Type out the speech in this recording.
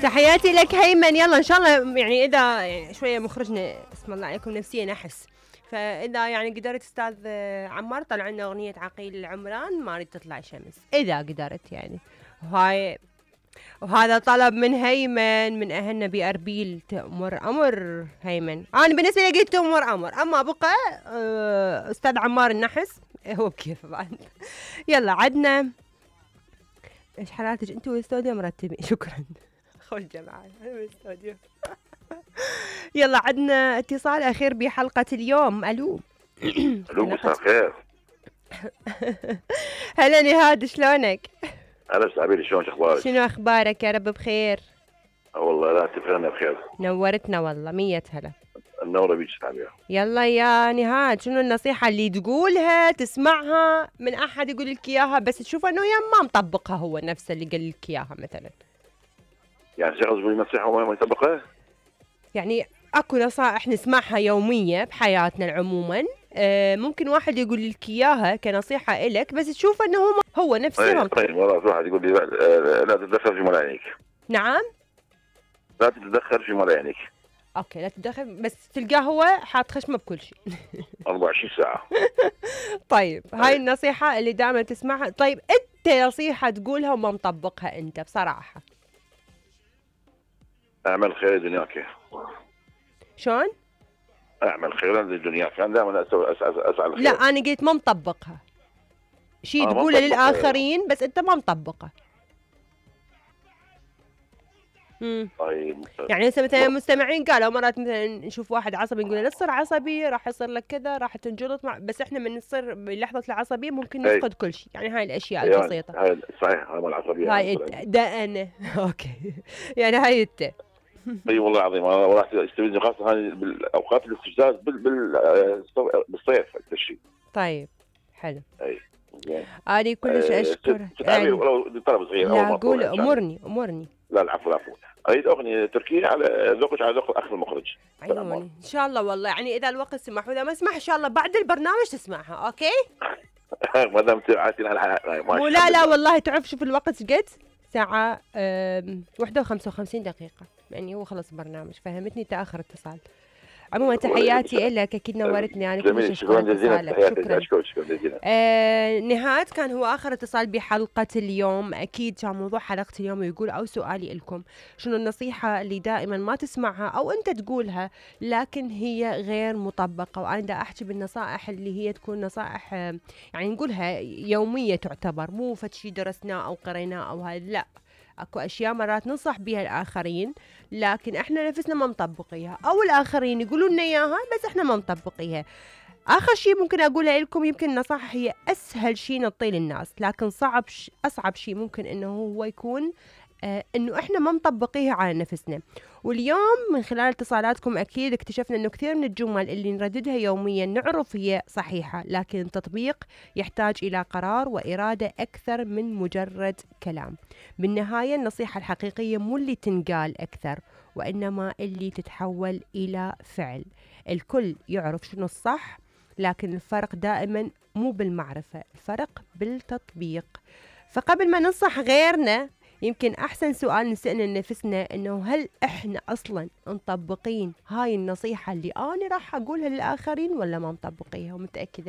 تحياتي لك هيمن. يلا ان شاء الله يعني اذا يعني شويه مخرجنا اسم الله عليكم نفسيا نحس، فاذا يعني قدرت استاذ عمار طلع لنا اغنيه عقيل العمران ما اريد تطلع شمس اذا قدرت يعني. وهذا طلب من هيمن من اهلنا باربيل. تأمر امر هيمن. انا بالنسبه لي قلت تأمر امر، اما بقى استاذ عمار النحس هو بكيف بعد. يلا عدنا ايش حالاتك انت والاستوديو مرتبين؟ شكرا خوش جماعه الاستوديو. يلا عدنا اتصال اخير بحلقه اليوم. الو. الو مساء الخير. هلا نهاد شلونك؟ انا سعبيلي شلونك اخبارك؟ شنو اخبارك؟ يا رب بخير. والله لا تفرنا بخير. نورتنا والله 100 هلا. النورة بيك سعبيلي. يلا يا نهاد شنو النصيحة اللي تقولها تسمعها من احد يقول لك اياها بس تشوف انه ما مطبقها هو نفسه اللي قال لك اياها مثلا؟ يعني شخص يقول نصيحة وما يطبقها؟ يعني اكو نصائح نسمعها يومية بحياتنا عموما، ممكن واحد يقول لك اياها كنصيحة الك بس تشوف انه هو نفسه. طيب والله واحد يقول لي لا تتدخل في مال عينيك. نعم؟ لا تتدخل في مال عينيك. اوكي لا تتدخل بس تلقاه هو حاط خشمه بكل شيء. 24 ساعة. طيب هاي النصيحة اللي دائما تسمعها. طيب انت نصيحة تقولها وما مطبقها انت بصراحة؟ اعمل خير دنياك. شلون؟ اعمل خيرا للدنيا، كان دائما اسعى الخير. لا انا قلت ما مطبقها. شيء تقوله للاخرين بس انت ما مطبقه. طيب يعني هسه مثلا المستمعين قالوا مرات مثلا نشوف واحد عصبي نقول لا تصير عصبي راح يصير لك كذا راح تنجلط بس احنا من نصير بلحظه العصبيه ممكن نفقد كل شيء. يعني هاي الاشياء البسيطه. هاي صحيح هاي العصبيه. هاي ده انا اوكي يعني هاي انت. اي والله العظيم انا راح استفيد خاصه هاي بالاوقات الاستفزاز بالصيف الشيء. طيب حلو. اي أنا كلش أشكر. يعني ولو طلب صغير. لا قول أمرني. لا العفو. أريد أغنية تركية على ذوقك على ذوق الأخ المخرج. عيوني إن شاء الله والله يعني إذا الوقت سمح وإذا ما سمح إن شاء الله بعد البرنامج تسمعها. أوكي؟ ما دام تعاتينا لا والله تعرف شوف الوقت قد ساعة 1:55 دقيقة يعني هو خلص البرنامج. فهمتني تأخر اتصال. عموما تحياتي لك اكيد نورتني يعني كل شكرا جزيلا. شكرا جزيلا. نهاد كان هو اخر اتصال بحلقه اليوم. اكيد كان موضوع حلقه اليوم يقول او سؤالي لكم شنو النصيحه اللي دائما ما تسمعها او انت تقولها لكن هي غير مطبقه. وانا دا احكي بالنصائح اللي هي تكون نصائح يعني نقولها يوميه تعتبر مو فد شيء درسناه او قريناه او هذا لا. اكو اشياء مرات ننصح بها الاخرين لكن احنا نفسنا ما مطبقيها او الاخرين يقولوا لنا اياها بس احنا ما مطبقيها. اخر شيء ممكن اقوله لكم يمكن النصائح هي اسهل شيء نعطيه للناس لكن اصعب شيء ممكن انه هو يكون انه احنا ما مطبقيها على نفسنا. واليوم من خلال اتصالاتكم اكيد اكتشفنا انه كثير من الجمل اللي نرددها يوميا نعرف هي صحيحة لكن التطبيق يحتاج الى قرار وارادة اكثر من مجرد كلام. بالنهاية النصيحة الحقيقية مو اللي تنقال اكثر وانما اللي تتحول الى فعل. الكل يعرف شنو الصح لكن الفرق دائما مو بالمعرفة، الفرق بالتطبيق. فقبل ما ننصح غيرنا يمكن أحسن سؤال نسألنا لنفسنا إنه هل إحنا أصلاً مطبقين هاي النصيحة اللي أنا راح أقولها للآخرين ولا ما مطبقيها؟ ومتأكدة